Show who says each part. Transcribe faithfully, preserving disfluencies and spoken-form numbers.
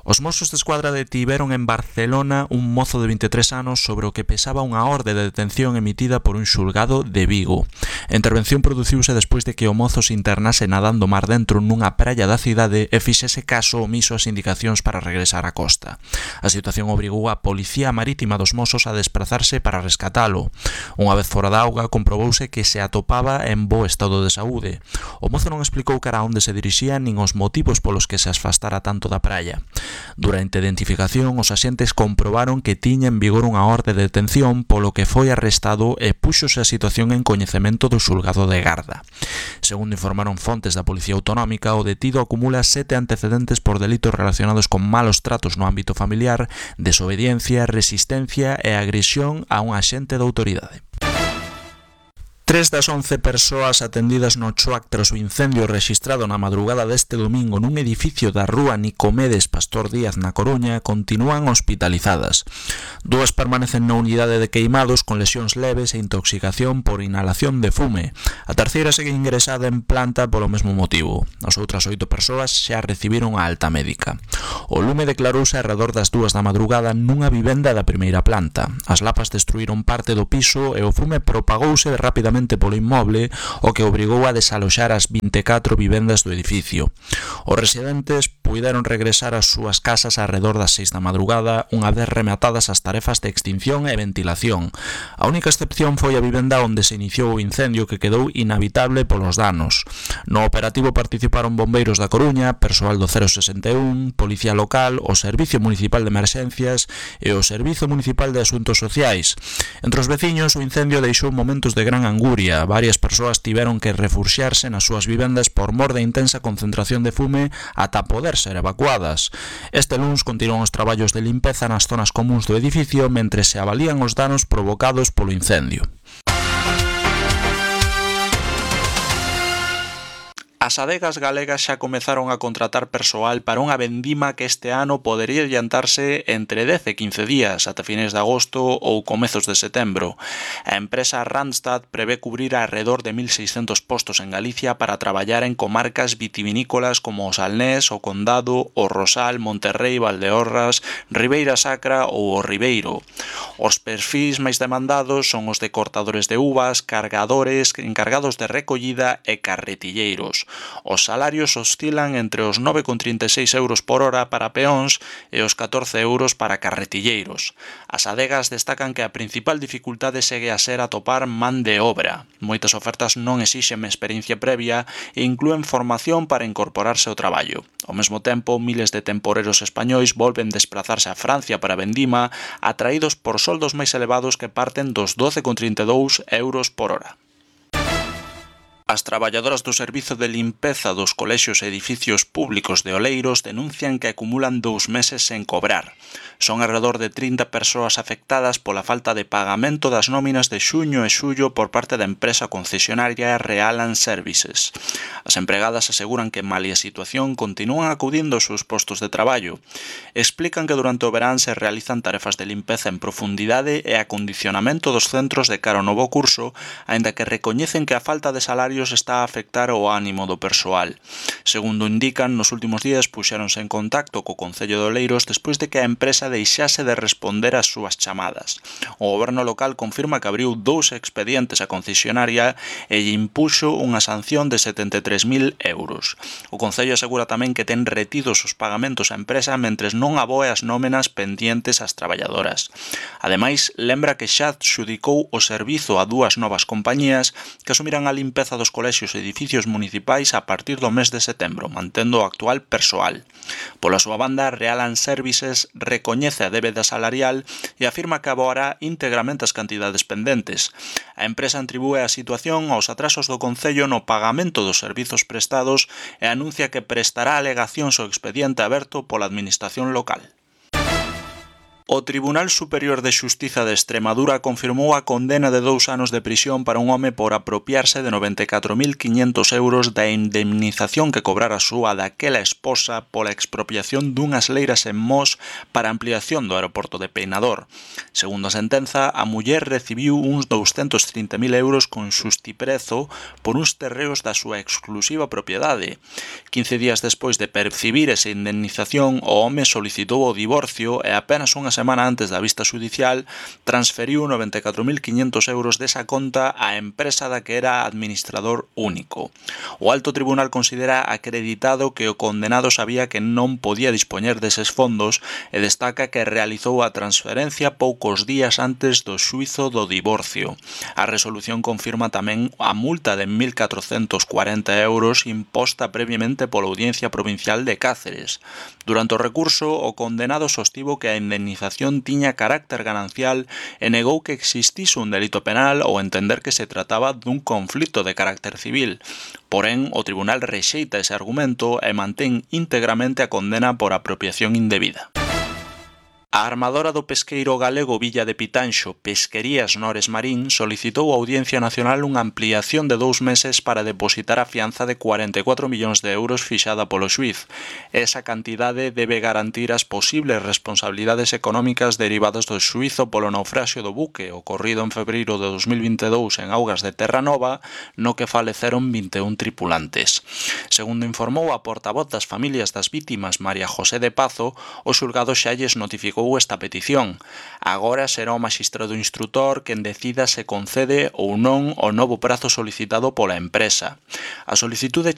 Speaker 1: Os Mossos de Escuadra detiveron en Barcelona un mozo de vinte e tres anos sobre o que pesaba unha orde de detención emitida por un xulgado de Vigo. A intervención produciuse despois de que o mozo se internase nadando mar dentro nunha praia da cidade e fixese caso omiso ás indicacións para regresar á costa. A situación obrigou a Policía Marítima dos Mossos a desplazarse para rescatalo. Unha vez fora da auga, comprobouse que se atopaba en bo estado de saúde. O mozo non explicou cara a onde se dirixía nin os motivos polos que se afastara tanto da praia. Durante a identificación, os axentes comprobaron que tiña en vigor unha orde de detención polo que foi arrestado e púxose a situación en coñecemento do xulgado de Garda. Segundo informaron fontes da Policía Autonómica, o detido acumula sete antecedentes por delitos relacionados con malos tratos no ámbito familiar, desobediencia, resistencia e agresión a un axente da autoridade. Tres das once persoas atendidas no Choac tras o incendio rexistrado na madrugada deste domingo nun edificio da rúa Nicomedes Pastor Díaz na Coruña continúan hospitalizadas. Dúas permanecen na unidade de queimados con lesións leves e intoxicación por inhalación de fume. A terceira segue ingresada en planta polo mesmo motivo. As outras oito persoas xa recibiron a alta médica. O lume declarouse arredor das dúas da madrugada nunha vivenda da primeira planta. As lapas destruíron parte do piso e o fume propagouse rapidamente polo inmoble, o que obrigou a desaloxar as vinte e catro vivendas do edificio. Os residentes puideron regresar ás súas casas arredor das seis da madrugada, unha vez rematadas as tarefas de extinción e ventilación. A única excepción foi a vivenda onde se iniciou o incendio, que quedou inhabitable polos danos. No operativo participaron bombeiros da Coruña, persoal do cero sesenta e un, Policía Local, o Servicio Municipal de Emerxencias e o Servizo Municipal de Asuntos Sociais. Entre os veciños, o incendio deixou momentos de gran angustia. Varias persoas tiveron que refuxiarse nas súas vivendas por mor da intensa concentración de fume ata poder ser evacuadas. Este luns continúan os traballos de limpeza nas zonas comúns do edificio mentre se avalían os danos provocados polo incendio. As adegas galegas xa comezaron a contratar persoal para unha vendima que este ano podería adiantarse entre dez e quince días, ata fines de agosto ou comezos de setembro. A empresa Randstad prevé cubrir arredor de mil seiscentos postos en Galicia para traballar en comarcas vitivinícolas como o Salnés, o Condado, o Rosal, Monterrei, Valdeorras, Ribeira Sacra ou o Ribeiro. Os perfis máis demandados son os de cortadores de uvas, cargadores, encargados de recollida e carretilleiros. Os salarios oscilan entre os nove con trinta e seis euros por hora para peóns e os catorce euros para carretilleiros. As adegas destacan que a principal dificultade segue a ser atopar man de obra. Moitas ofertas non exixen experiencia previa e inclúen formación para incorporarse ao traballo. Ao mesmo tempo, miles de temporeros españois volven desplazarse a Francia para vendima, atraídos por soldos máis elevados que parten dos doce con trinta e dous euros por hora. As traballadoras do Servizo de Limpeza dos colexios e edificios públicos de Oleiros denuncian que acumulan dous meses sen cobrar. Son alrededor de trinta persoas afectadas pola falta de pagamento das nóminas de xuño e xullo por parte da empresa concesionaria Realan Services. As empregadas aseguran que, malia a situación, continúan acudindo aos seus postos de traballo. Explican que durante o verán se realizan tarefas de limpeza en profundidade e acondicionamento dos centros de cara ao novo curso, aínda que recoñecen que a falta de salario está a afectar o ánimo do persoal. Segundo indican, nos últimos días puxéronse en contacto co Concello de Oleiros despois de que a empresa deixase de responder ás súas chamadas. O goberno local confirma que abriu dous expedientes á concesionaria e lle impuxo unha sanción de setenta e tres mil euros. O Concello asegura tamén que ten retidos os pagamentos á empresa mentres non aboe as nómenas pendientes ás traballadoras. Ademais, lembra que xa adxudicou o servizo a dúas novas compañías que asumirán a limpeza dos colexios e edificios municipais a partir do mes de setembro, mantendo o actual persoal. Pola súa banda, Realan Services recoñece a débeda salarial e afirma que aboará íntegramente as cantidades pendentes. A empresa atribúe a situación aos atrasos do Concello no pagamento dos servizos prestados e anuncia que prestará alegacións ao expediente aberto pola Administración local. O Tribunal Superior de Xustiza de Extremadura confirmou a condena de dous anos de prisión para un home por apropiarse de noventa e catro mil quiñentos euros da indemnización que cobrara a súa daquela esposa pola expropiación dunhas leiras en Mos para ampliación do aeroporto de Peinador. Segundo a sentenza, a muller recibiu uns douscentos trinta mil euros con xustiprezo por uns terreos da súa exclusiva propiedade. quince días despois de percibir esa indemnización, o home solicitou o divorcio e apenas unha semana antes da vista xudicial transferiu noventa e catro mil quiñentos euros desa conta á empresa da que era administrador único. O alto tribunal considera acreditado que o condenado sabía que non podía dispoñer deses fondos e destaca que realizou a transferencia poucos días antes do xuízo do divorcio. A resolución confirma tamén a multa de mil catrocentos cuarenta euros imposta previamente pola Audiencia Provincial de Cáceres. Durante o recurso, o condenado sostivo que a indemnización tiña carácter ganancial e negou que existise un delito penal ou entender que se trataba dun conflito de carácter civil. Porén, o tribunal rexeita ese argumento e mantén íntegramente a condena por apropiación indebida. A armadora do pesqueiro galego Villa de Pitanxo, Pesquerías Nores Marín, solicitou á Audiencia Nacional unha ampliación de dous meses para depositar a fianza de cuarenta e catro millóns de euros fixada polo xuíz. Esa cantidade debe garantir as posibles responsabilidades económicas derivadas do xuízo polo naufraxio do buque ocorrido en febreiro de dos mil vinte e dous en augas de Terranova, no que faleceron vinte e un tripulantes. Segundo informou a portavoz das familias das vítimas, María José de Pazo, o xulgado xa lles notificou esta petición. Agora será o maxistrado instrutor quen decida se concede ou non o novo prazo solicitado pola empresa. A solicitude